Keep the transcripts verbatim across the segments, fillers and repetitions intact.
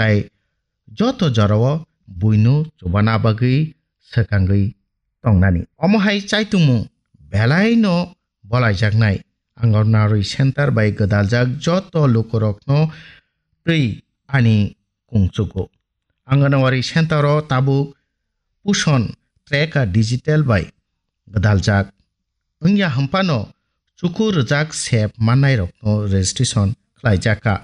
tai joto jorao buino chubana bagwi swkangwi tongnani. Omo hai chaitungmung belaino bolaijaknai Anganwadi Center bai gwdaljak joto lukurokno twi ani kungchugo. Anganwadi Center o tabuk puson tracker digital bai gwdaljak. Wngya hwnphano chuku rwjak sep mannairokno registration khlaijakha.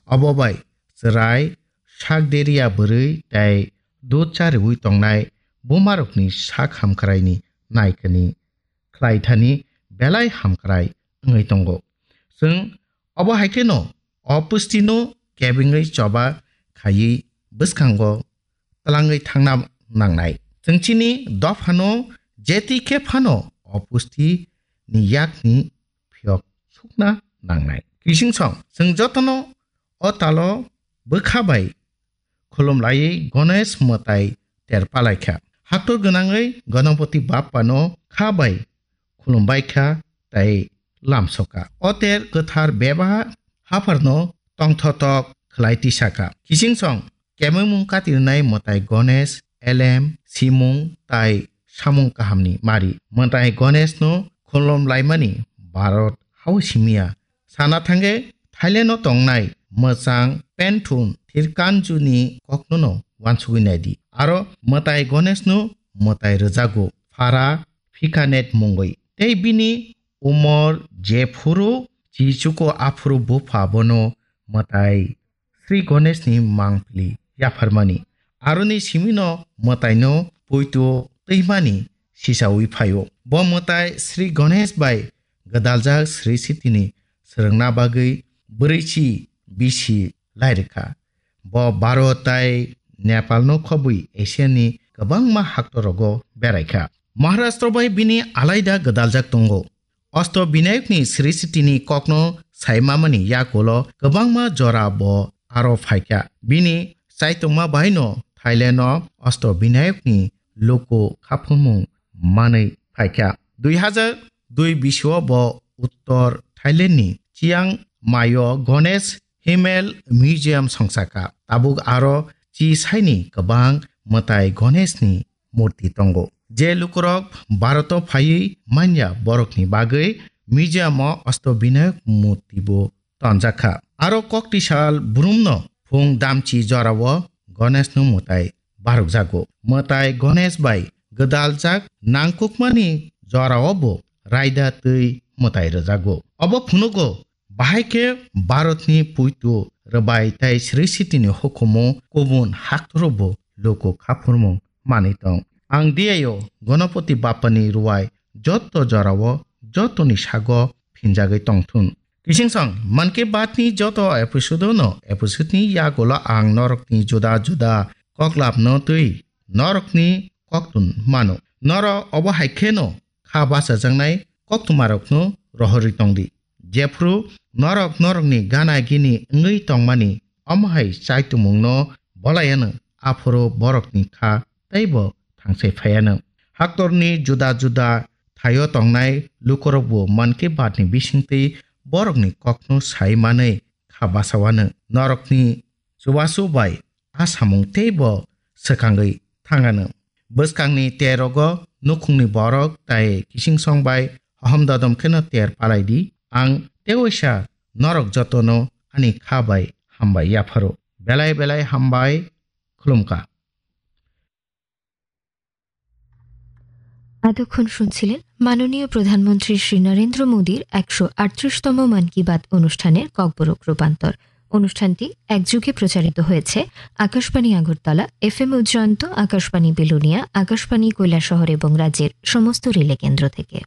Obo bai chwrai sak deriya bwrwi tei dud chariwi tongnai bumarokni sak hamkraini naikani khlaithani belai hamkrai wngwi tongo. Chwng obo hai kheno o pustino kebengwi choba khaiwi bwskango twlangwi thangna nangnai. Chwng chini dophano jeti khe phano o pusti ni yakni phiyok sukna nangnai. Kisingsong chwng jotono o talo bwkha bai khulum laiwi Ganesh mwtai ter palaikha. Haktor gwnangwi Ganapati Bappano kha bai khulumbaikha tei lamsokha. O ter kwthar beba hapharno tongthotok khlai tisakha. Kisingsong kemengmung katirnai mwtai Ganesh, elem, simung tai samung kahamni mari. Mwtai Ganeshno khulum laimani Bharat hao simiya. Sana thangwi Thailand o tongnai mwchang Penthun Thirkanju ni kokno no wansugwi naidi. Aro mwtai Ganesh no mwtai rwjago, phara phikanet mungwi. Tei bini umor jephuru chichuko aphuru bupha bono mwtai Sri Ganesh ni mangpili yapharmani. Aroni simino mwtaino poito twimani sisawi phaio. Bo mwtai Sri Ganesh bai gwdaljak Sri Sitini swrwngna bagwi bwrwichi bisi lairikha. Bo Bharat tai Nepalno khobwi Asiani kwbangma haktorogo beraikha. Maharashtra bai bini alaida gwdaljak tongo. Osto Binayokni Sri Sitini kokno saimamani yakulo kwbangma jora bo aro phaikha. Bini chaitokma baino Thailand o Osto Binayokni luku khaphurmung manwi phaikha. Dui hazar dui bisio bo Uttor Thailand ni Chiang Mai o Ganesh Himmel Museum songsakha. Tabuk aro chi saini kwbang mwtai Ganesh ni murti tongo. Je lukurok Bharat o phaiwi manya borokni bagwi museum o Osto Binayak murti bo tonjakha. Aro koktisal brumno phung damchi jorao Ganesh no mwtai barukjago. Mwtai Ganesh bai gwdaljak nangkukmani jorao bo raida twi mwtai rwjago. Obo phunugo bahai khe Bharatni puitu rwbai tai Sri Sitini hukumu kubun haktoro bo luku khaphurmung manwi tong. Ang diyaio Ganapati Bappani ruwai jotto jorao jottoni sago phinjagwi tongthun. Kisingsong Mann Ki Baat ni joto episode no episode ni yagulo ang norokni juda juda koklapno twi norokni koktun mano. Norok obo hai kheno kha bachajaknai koktwmarokno rohorwi tongdi. Jephru norok norokni gana gini wngwi tongmani omo hai chaitumungno bolai anw, aphuru borokni kha teibo thangsai phai anw. Haktorni juda juda thaio tongnai lukurokbo Mann Ki Baat ni bisingtwi borokni kokno sai manwi kha bachao anw. Norokni chubachu bai a samung teibo swkangwi thang anw. Bwskangni terogo nukhungni borok tai kisingsong bai hohom dodom kheno ter palai di. Ang tewaisa norok jotono ani kha bai hambai yapharo. Belai belai hambai, khulumkha. এতক্ষণ শুনছিলেন মাননীয় প্রধানমন্ত্রী শ্রী নরেন্দ্র মোদীর একশো আটত্রিশতম মন কি বাত অনুষ্ঠানের ককবরক রূপান্তর। অনুষ্ঠানটি এক যুগে প্রচারিত হয়েছে আকাশবাণী আগরতলা, এফএম উজ্জয়ন্ত, আকাশবাণী বিলোনিয়া, আকাশবাণী কৈলাসহর এবং রাজ্যের সমস্ত রিলে কেন্দ্র থেকে।